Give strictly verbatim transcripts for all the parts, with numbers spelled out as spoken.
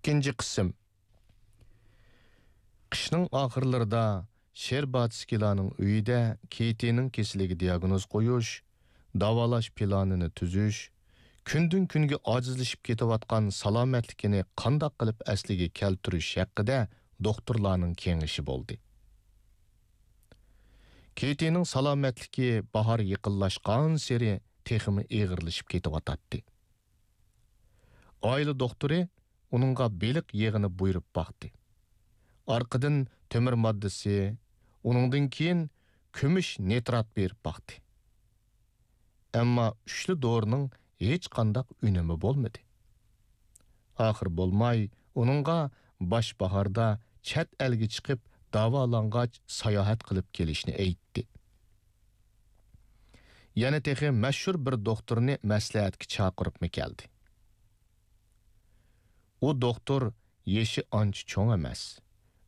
ئىككىنچى قىسىم. قىشنىڭ ئاخىرلىرىدا شېرباتسكىلارنىڭ ئۆيىدە كېتىنىڭ كېسىلىگە دىياگنوز قويۇش، داۋالاش پىلانىنى تۈزۈش، كۈندىن-كۈنگە ئاجىزلىشىپ كېتىۋاتقان سالامەتلىكىنى قانداق قىلىپ ئەسلىگە كەلتۈرۈش ھەققىدە دوختۇرلارنىڭ كېڭىشى بولدى. كېتىنىڭ سالامەتلىكى باھار يېقىنلاشقانسېرى تېخىمۇ ئېغىرلىشىپ كېتىۋاتاتتى. ئائىلە دوختۇرى ئۇنىڭغا بېلىق يېغىنى بۇيرۇپ باقتى. ئارقىدىن تۆمۈر ماددىسى، ئۇنىڭدىن كېيىن كۈمۈش نىترات بېرىپ باقتى. ئەمما ئۈچلا دورىنىڭ ھېچقانداق ئۈنۈمى بولمىدى. ئاخىر بولماي ئۇنىڭغا باش باھاردا چەت ئەلگە چىقىپ داۋالانغاچ ساياھەت قىلىپ كېلىشنى ئېيتتى. يەنە تېخى مەشھۇر بىر دوختۇرنى مەسلىھەتكە چاقىرىپمۇ كەلدى. ئۇ دوختۇر يېشى ئانچە چوڭ ئەمەس،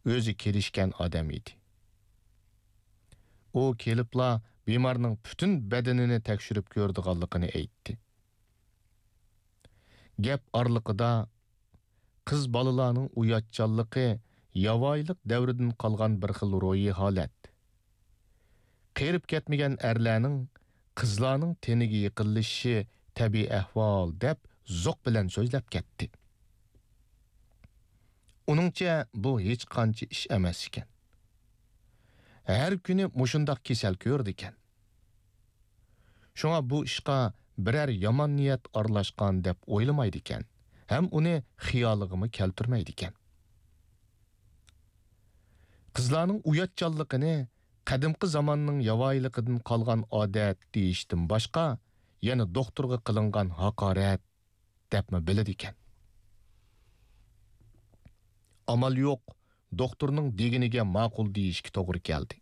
ئۆزى كېلىشكەن ئادەم ئىدى. ئۇ كېلىپلا بىمارنىڭ پۈتۈن بەدىنىنى تەكشۈرۈپ كۆرىدىغانلىقىنى ئېيتتى. گەپ ئارىلىقىدا قىز بالىلارنىڭ ئۇياتچانلىقى ياۋايىلىق دەۋرىدىن قالغان بىر خىل روھىي ھالەت. قېرىپ كەتمىگەن ئەرلەرنىڭ قىزلارنىڭ تېنىگە يېقىنلىشىشى تەبىئىي ئەھۋال دەپ زوق بىلەن سۆزلەپ كەتتى. ئۇنىڭچە بۇ ھېچقانچە ئىش ئەمەس ئىكەن. ھەر كۈنى مۇشۇنداق كېسەل كۆرىدىكەن. شۇڭا بۇ ئىشقا بىرەر يامان نىيەت ئارىلاشقان دەپ ئويلىمايدىكەن ھەم ئۇنى خىيالىغىمۇ كەلتۈرمەيدىكەن. قىزلارنىڭ ئۇياتچانلىقىنى قەدىمكى زاماننىڭ ياۋايىلىقىدىن قالغان ئادەت دېيىشتىن باشقا، يەنە دوختۇرغا قىلىنغان ھاقارەت دەپمۇ بىلىدىكەن. ئامال يوق، دوختۇرنىڭ دېگىنىگە ماقۇل دېيىشكە توغرا كەلدى.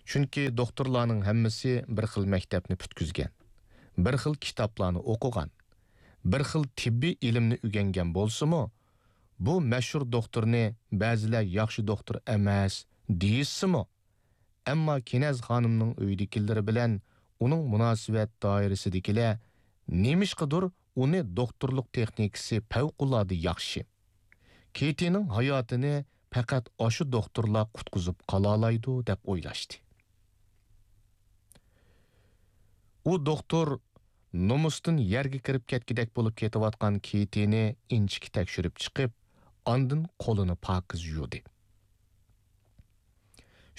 چۈنكى دوختۇرلارنىڭ ھەممىسى بىر خىل مەكتەپنى پۈتكۈزگەن، بىر خىل كىتابلارنى ئوقۇغان، بىر خىل تېببىي ئىلىمنى ئۆگەنگەن بولسىمۇ، بۇ مەشھۇر دوختۇرنى بەزىلەر ياخشى دوختۇر ئەمەس دېيىشسىمۇ، ئەمما كېنەز خانىمنىڭ ئۆيىدىكىلىرى بىلەن ئۇنىڭ مۇناسىۋەت دائىرىسىدىكىلەر نېمىشقىدۇر ئۇنى دوختۇرلۇق تېخنىكىسى پەۋقۇلئاددە ياخشى، كېتىنىڭ ھاياتىنى پەقەت ئاشۇ دوختۇرلا قۇتقۇزۇپ قالالايدۇ دەپ ئويلاشتى. ئۇ دوختۇر نومۇستىن يەرگە كىرىپ كەتكۈدەك بولۇپ كېتىۋاتقان كېتىنى ئىنچىكە تەكشۈرۈپ چىقىپ، ئاندىن قولىنى پاكىز يۇدى.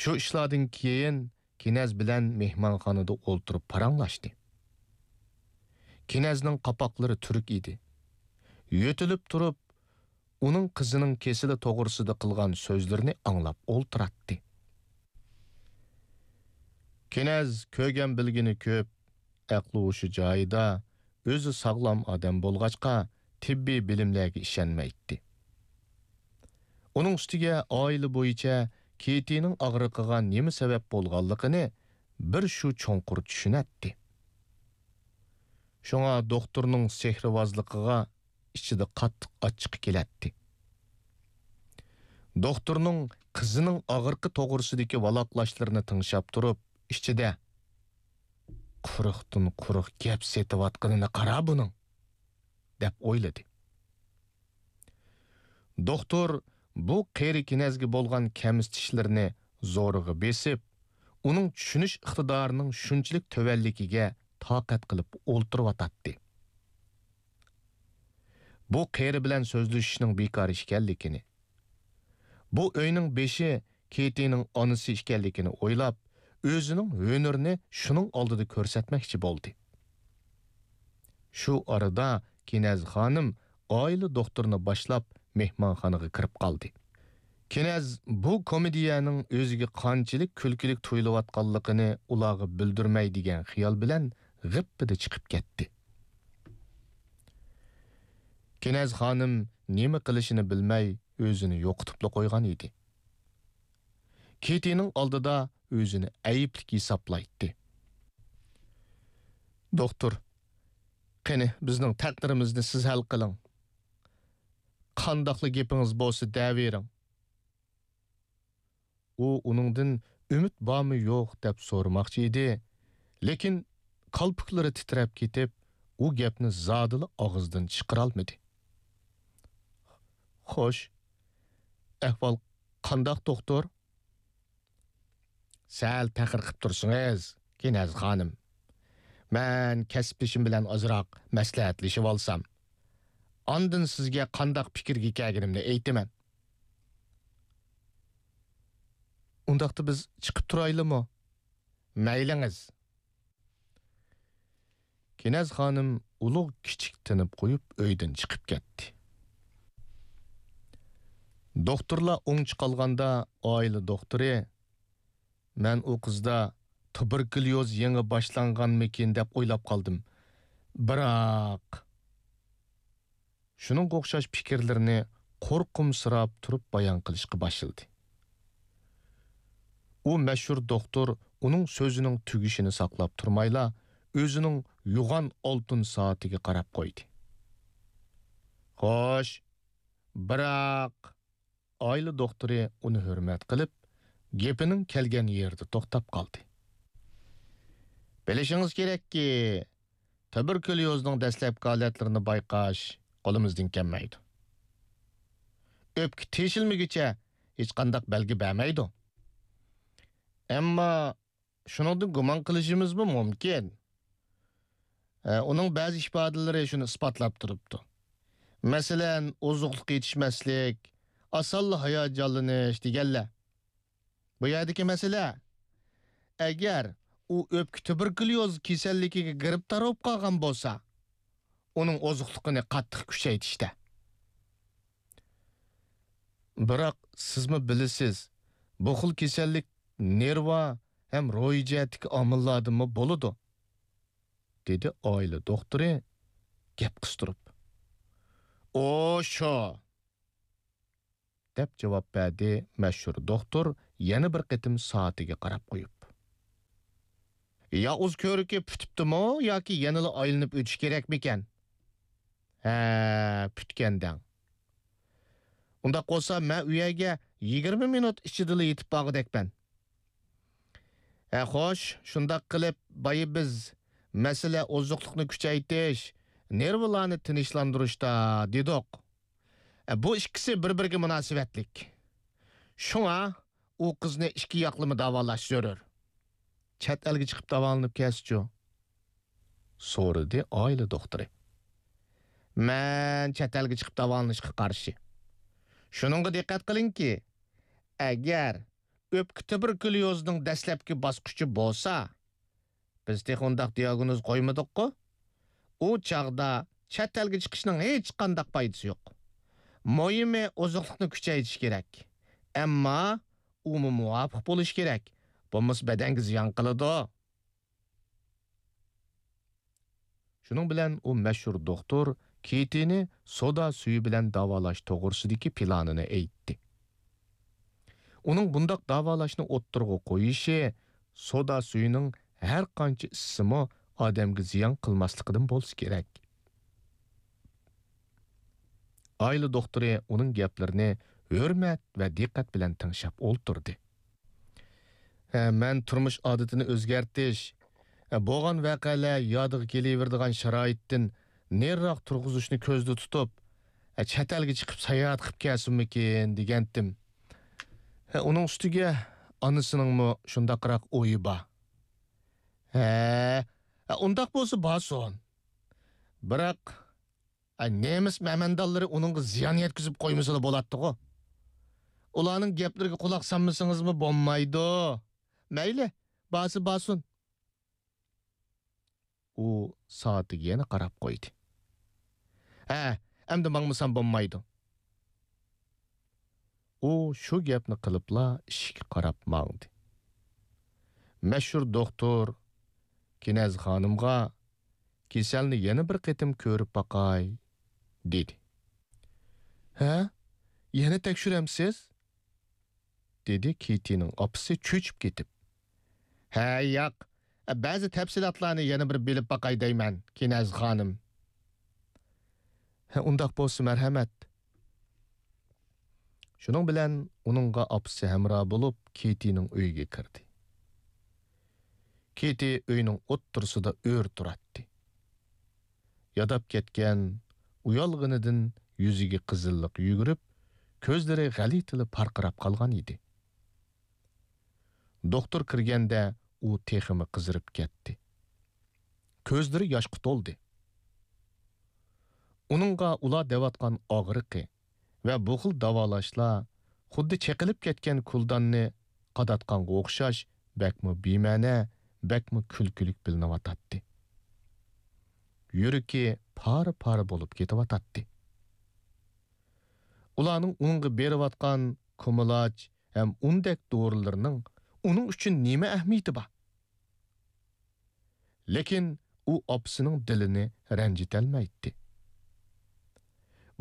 شۇ ئىشلاردىن كېيىن كېنەز بىلەن مېھمانخانىدا ئولتۇرۇپ پاراڭلاشتى. كېنەزنىڭ قاپاقلىرى تۈرۈك ئىدى. يۆتىلىپ تۇرۇپ، ئۇنىڭ قىزىنىڭ كېسىلى توغرىسىدا قىلغان سۆزلىرىنى ئاڭلاپ ئولتۇراتتى. كېنەز كۆرگەن بىلگىنى كۆپ، ئەقلى ھوشى جايىدا، ئۆزى ساغلام ئادەم بولغاچقا، تېببىي بىلىملەرگە ئىشەنمەيتتى. ئۇنىڭ ئۈستىگە ئائىلە بويىچە كېتىنىڭ ئاغرىقىغا نېمە سەۋەب بولغانلىقىنى بىر شۇ چوڭقۇر چۈشىنەتتى. شۇڭا دوختۇرنىڭ سېھرىۋازلىقىغا ئىچىدە قاتتىق ئاچچىقى كېلەتتى. دوختۇرنىڭ قىزىنىڭ ئاغرىقى توغرىسىدىكى ۋالاقلاشلىرىنى تىڭشاپ تۇرۇپ، ئىچىدە، «قۇرۇقتىن قۇرۇق گەپ سېتىۋاتقىنىنى قارا بۇنىڭ!» دەپ ئويلىدى. دوختۇر بۇ قېرى كېنەزگە بولغان كەمسىتىشلىرىنى زورىغا بېسىپ، ئۇنىڭ چۈشىنىش ئىقتىدارىنىڭ شۇنچىلىك تۆۋەنلىكىگە تاقەت قىلىپ ئولتۇرۇۋاتاتتى. بۇ قېرى بىلەن سۆزلىشىشنىڭ بىكار ئىكەنلىكىنى، بۇ ئۆينىڭ بېشى كېتىنىڭ ئانىسى ئىكەنلىكىنى ئويلاپ، ئۆزىنىڭ ھۈنىرىنى شۇنىڭ ئالدىدا كۆرسەتمەكچى بولدى. شۇ ئارىدا كېنەز خانىم ئائىلە دوختۇرىنى باشلاپ مېھمانخانىغا كىرىپ قالدى. كېنەز بۇ كومېدىيەنىڭ ئۆزىگە قانچىلىك كۈلكىلىك تۇيۇلۇۋاتقانلىقىنى ئۇلارغا بىلدۈرمەي دېگەن خىيال بىلەن غىپپىدە چىقىپ كەتتى. كېنەز خانىم نېمە قىلىشىنى بىلمەي ئۆزىنى يوقىتىپلا قويغان ئىدى. كېتىنىڭ ئالدىدا ئۆزىنى ئەيىبلىك ھېسابلايتتى. «دوختۇر، قېنى، بىزنىڭ تەقدىرىمىزنى سىز ھەل قىلىڭ. قانداقلا گېپىڭىز بولسا دەۋېرىڭ.» ئۇ ئۇنىڭدىن ئۈمىد بارمۇ يوق دەپ سورىماقچى ئىدى، لېكىن كالپۇكلىرى تىترەپ كېتىپ، ئۇ گەپنى زادىلا ئاغزىدىن چىقىرالمىدى. خوش. ئەھۋال قانداق، دوختۇر؟ سەل تەخىر قىپ تۇرسىڭىز، كىنەز خانىم. مەن كەسىپدىشىم بىلەن ئازراق مەسلىھەتلىشىۋالسام، ئاندىن سىزگە قانداق پىكىرگە كەلگىنىمنى ئېيتىمەن. ئۇنداقتا بىز چىقىپ تۇرايلىمۇ؟ مەيلىڭىز. كىنەز خانىم ئۇلۇغ كىچىك تىنىپ قويۇپ، ئۆيدىن چىقىپ كەتتى. دوختۇرلار ئوڭ چىقالغاندا، ئائىلە دوختۇرى، مەن ئۇ قىزدا تۇبېركۇليوز يېڭى باشلانغانمىكىن دەپ ئويلاپ قالدىم. بىراق، شۇنىڭغا ئوخشاش پىكىرلىرىنى قورقۇمسىراپ تۇرۇپ بايان قىلىشقا باشلىدى. ئۇ مەشھۇر دوختۇر ئۇنىڭ سۆزىنىڭ تۈگىشىنى ساقلاپ تۇرمايلا، ئۆزىنىڭ يوغان ئالتۇن سائىتىگە قاراپ قويدى. خوش، بىراق، ئائىلە دوختۇرى ئۇنى ھۆرمەت قىلىپ، گېپىنىڭ كەلگەن يېرىدە توختاپ قالدى. بىلىشىڭىز كېرەككى، تۇبېركۇليوزنىڭ دەسلەپكى ھالەتلىرىنى بايقاش قولىمىزدىن كەلمەيدۇ. ئۆپكە تېشىلمىگۈچە ھېچقانداق بەلگە بەرمەيدۇ. ئەمما شۇنىڭدىن گۇمان قىلىشىمىزمۇ مۇمكىن. ئە، ئۇنىڭ بەزى ئىپادىلىرى شۇنى ئىسپاتلاپ تۇرۇپتۇ. مەسىلەن، ئوزۇقلۇق يېتىشمەسلىك، ئاسانلا ھاياجانلىنىش دېگەنلەر. بۇ يەردىكى مەسىلە، ئەگەر ئۇ ئۆپكە تۇبېركۇليوز كېسەللىكىگە گىرىپتار بولۇپ قالغان بولسا، ئۇنىڭ ئوزۇقلۇقىنى قاتتىق كۈچەيتىشتە. بىراق سىزمۇ بىلىسىز، بۇ خىل كېسەللىك نېرۋا ھەم روھىي جەھەتتىكى ئامىللاردىنمۇ بولىدۇ، دېدى ئائىلە دوختۇرى گەپ قىستۇرۇپ. ئۇ شۇ، دەپ جاۋاب بەردى مەشھۇر دوختۇر يەنە بىر قېتىم سائىتىگە قاراپ قويۇپ. ياۋۇز كۆركى پۈتۈپتىمۇ ياكى يەنىلا ئايلىنىپ ئۆتۈش كېرەكمىكەن؟ ھە، پۈتكەن دەڭ. ئۇنداق بولسا مەن ئۇ يەرگە يىگىرمە مىنۇت ئىچىدىلا يېتىپ بارغۇدەكمەن. ھە خوش، شۇنداق قىلىپ بايا بىز مەسىلە ئوزۇقلۇقنى كۈچەيتىش، نېرۋىلارنى تىنچلاندۇرۇشتا دېدۇق. ئە، بۇ ئىككىسى بىر-بىرىگە مۇناسىۋەتلىك. شۇڭا ئۇ قىزنى ئىككى ياقلىما داۋالاش زۆرۈر. چەت ئەلگە چىقىپ داۋالىنىپ كەلسىچۇ؟ سورىدى ئائىلە دوختۇرى. مەن چەت ئەلگە چىقىپ داۋالىنىشقا قارشى. شۇنىڭغا دىققەت قىلىڭكى، ئەگەر ئۆپكە تۇبېركۇليوزىنىڭ دەسلەپكى باسقۇچى بولسا، بىز تېخى ئۇنداق دىياگنوز قويمىدۇققۇ؟ ئۇ چاغدا چەت ئەلگە چىقىشنىڭ ھېچقانداق پايدىسى يوق. مۇھىمى ئوزۇقلۇقنى كۈچەيتىش كېرەك. ئەمما ئۇمۇ مۇۋاپىق بولۇشى كېرەك. بولمىسا بەدەنگە زىيان قىلىدۇ. شۇنىڭ بىلەن ئۇ مەشھۇر دوختۇر كېتىنى سودا سۈيى بىلەن داۋالاش توغرىسىدىكى پىلانىنى ئېيتتى. ئۇنىڭ بۇنداق داۋالاشنى ئوتتۇرىغا قويۇشى سودا سۈيىنىڭ ھەر قانچە ئىچسىمۇ ئادەمگە زىيان قىلماسلىقىدىن بولسا كېرەك. ئائىلە دوختۇرى ئۇنىڭ گەپلىرىنى ھۆرمەت ۋە دىققەت بىلەن تىڭشاپ ئولتۇردى. ھە، مەن تۇرمۇش ئادىتىنى ئۆزگەرتىش، ھە، بولغان ۋەقەلەر يادىغا كېلىۋېرىدىغان شارائىتتىن نېرىراق تۇرغۇزۇشنى كۆزدە تۇتۇپ، ھە، چەت ئەلگە چىقىپ ساياھەت قىلىپ كەلسۇنمىكىن دېگەنتىم. ھە، ئۇنىڭ ئۈستىگە ئانىسىنىڭمۇ شۇنداقراق ئويى بار. ھە، ھە، ئۇنداق بولسا بارسۇن. بىراق، ئە، نېمىس مەمەندانلىرى ئۇنىڭغا زىيان يەتكۈزۈپ قويمىسىلا بولاتتىغۇ. ئۇلارنىڭ گەپلىرىگە قۇلاق سالمىسىڭىزمۇ بولمايدۇ. مەيلى، بارسا بارسۇن. ئۇ سائىتىگە يەنە قاراپ قويدى. ھە، ئەمدى ماڭمىسام بولمايدۇ. ئۇ شۇ گەپنى قىلىپلا ئىشىككە قاراپ ماڭدى. مەشھۇر دوختۇر كىنەز خانىمغا، «كېسەلنى يەنە بىر قېتىم كۆرۈپ باقاي» دېدى. «ھە؟ يەنە تەكشۈرەمسىز؟» دېدى كېتىنىڭ ئاپىسى چۆچۈپ كېتىپ. «ھە، ياق، بەزى تەپسىلاتلارنى يەنە بىر بىلىپ باقاي دەيمەن، كىنەز خانىم.» «ھە، ئۇنداق بولسا مەرھەمەت.» شۇنىڭ بىلەن ئۇنىڭغا ئاپىسى ھەمراھ بولۇپ، كېتىنىڭ ئۆيىگە كىردى. كېتى ئۆينىڭ ئوتتۇرىسىدا ئۆرە تۇراتتى. ياداپ كەتكەن، ئۇيالغىنىدىن يۈزىگە قىزىللىق يۈگۈرۈپ، كۆزلىرى غەلىتىلا پارقىراپ قالغان ئىدى. دوختۇر كىرگەندە ئۇ تېخىمۇ قىزىرىپ كەتتى. كۆزلىرى ياشقا تولدى. ئۇنىڭغا ئۇلار دەۋاتقان ئاغرىقى ۋە بۇ خىل داۋالاشلار خۇددى چېقىلىپ كەتكەن كۇلداننى قاداتقانغا ئوخشاش بەكمۇ بىمەنە، بەكمۇ كۈلكىلىك بىلىنىۋاتاتتى. يۈرىكى پارە-پارە بولۇپ كېتىۋاتاتتى. ئۇلارنىڭ ئۇنىڭغا بېرىۋاتقان كۇمىلاچ ھەم ئۇندەك دورىلىرىنىڭ ئۇنىڭ ئۈچۈن نېمە ئەھمىيىتى بار؟ لېكىن ئۇ ئاپىسىنىڭ دىلىنى رەنجىتەلمەيتتى.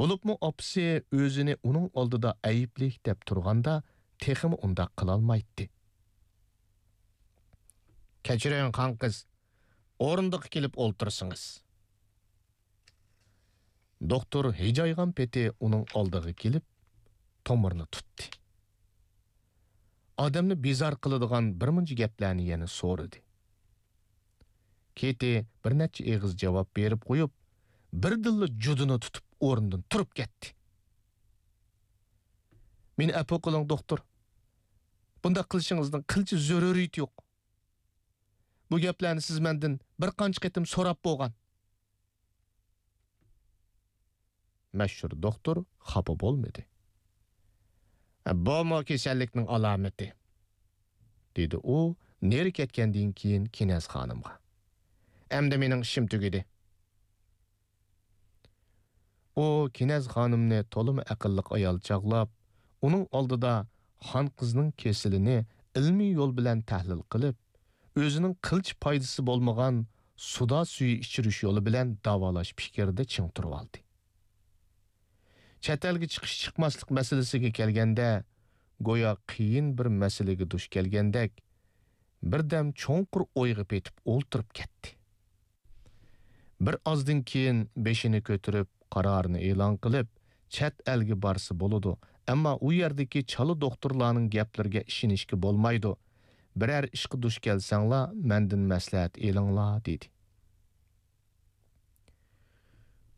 بولۇپمۇ ئاپىسى ئۆزىنى ئۇنىڭ ئالدىدا ئەيىبلىك دەپ تۇرغاندا تېخىمۇ ئۇنداق قىلالمايتتى. «كەچۈرۈڭ، خان قىز، ئورۇندۇققا كېلىپ ئولتۇرسىڭىز.» دوختۇر ھىجايغان پېتى ئۇنىڭ ئالدىغا كېلىپ، تومۇرىنى تۇتتى. ئادەمنى بىزار قىلىدىغان بىر مۇنچە گەپلەرنى يەنە سورىدى. كېتى بىر نەچچە ئېغىز جاۋاب بېرىپ قويۇپ، بىردىنلا جۇدۇنى تۇتۇپ ئورنىدىن تۇرۇپ كەتتى. «مېنى ئەپۇ قىلىڭ، دوختۇر. بۇنداق قىلىشىڭىزنىڭ قىلچە زۆرۈرىيىتى يوق. بۇ گەپلەرنى سىز مەندىن بىر قانچە قېتىم سوراپ بولغان.» مەشھۇر دوختۇر خاپا بولمىدى. «بۇمۇ كېسەللىكنىڭ ئالامىتى»، دېدى ئۇ نېرى كەتكەندىن كېيىن كىنەز خانىمغا. «ئەمدى مېنىڭ ئىشىم تۈگىدى.» ئۇ كىنەز خانىمنى تولىمۇ ئەقىللىق ئايال چاغلاپ، ئۇنىڭ ئالدىدا خان قىزنىڭ كېسىلىنى ئىلمىي يول بىلەن تەھلىل قىلىپ، ئۆزىنىڭ قىلچە پايدىسى بولمىغان سۇدا سۈيى ئىچۈرۈش يولى بىلەن داۋالاش پىكرىدە چىڭ تۇرۇۋالدى. چەت ئەلگە چىقىش چىقماسلىق مەسىلىسىگە كەلگەندە، گويا قىيىن بىر مەسىلىگە دۇچ كەلگەندەك، بىردەم چوڭقۇر ئويغا پېتىپ ئولتۇرۇپ كەتتى. بىر ئازدىن كېيىن بېشىنى كۆتۈرۈپ، قارارىنى ئېلان قىلىپ، چەت ئەلگە بارسا بولىدۇ، ئەمما ئۇ يەردىكى چالا دوختۇرلارنىڭ گەپلىرىگە ئىشىنىشكە بولمايدۇ، بىرەر ئىشقا دۇچ كەلسەڭلار، مەندىن مەسلىھەت ئېلىڭلار، دېدى.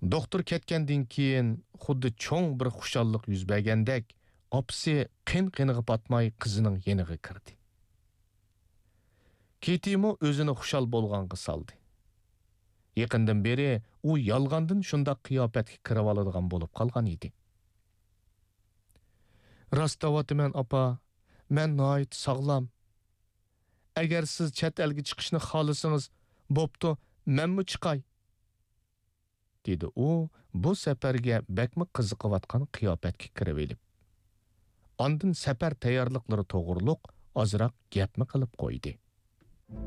دوختۇر كەتكەندىن كېيىن، خۇددى چوڭ بىر خۇشاللىق يۈز بەرگەندەك، ئاپىسى قىن-قىنىغا پاتماي قىزىنىڭ يېنىغا كىردى. كېتىمۇ ئۆزىنى خۇشال بولغانغا سالدى. يېقىندىن بېرى ئۇ يالغاندىن شۇنداق قىياپەتكە كىرىۋالىدىغان بولۇپ قالغان ئىدى. «راست دەۋاتىمەن، ئاپا، مەن ناھايىتى ساغلام. ئەگەر سىز چەت ئەلگە چىقىشنى خالىسىڭىز، بوپتۇ، مەنمۇ چىقاي.» دېدى ئۇ بۇ سەپەرگە بەكمۇ قىزىقىۋاتقان قىياپەتكە كىرىۋېلىپ. ئاندىن سەپەر تەييارلىقلىرى توغرۇلۇق ئازراق گەپمۇ قىلىپ قويدى.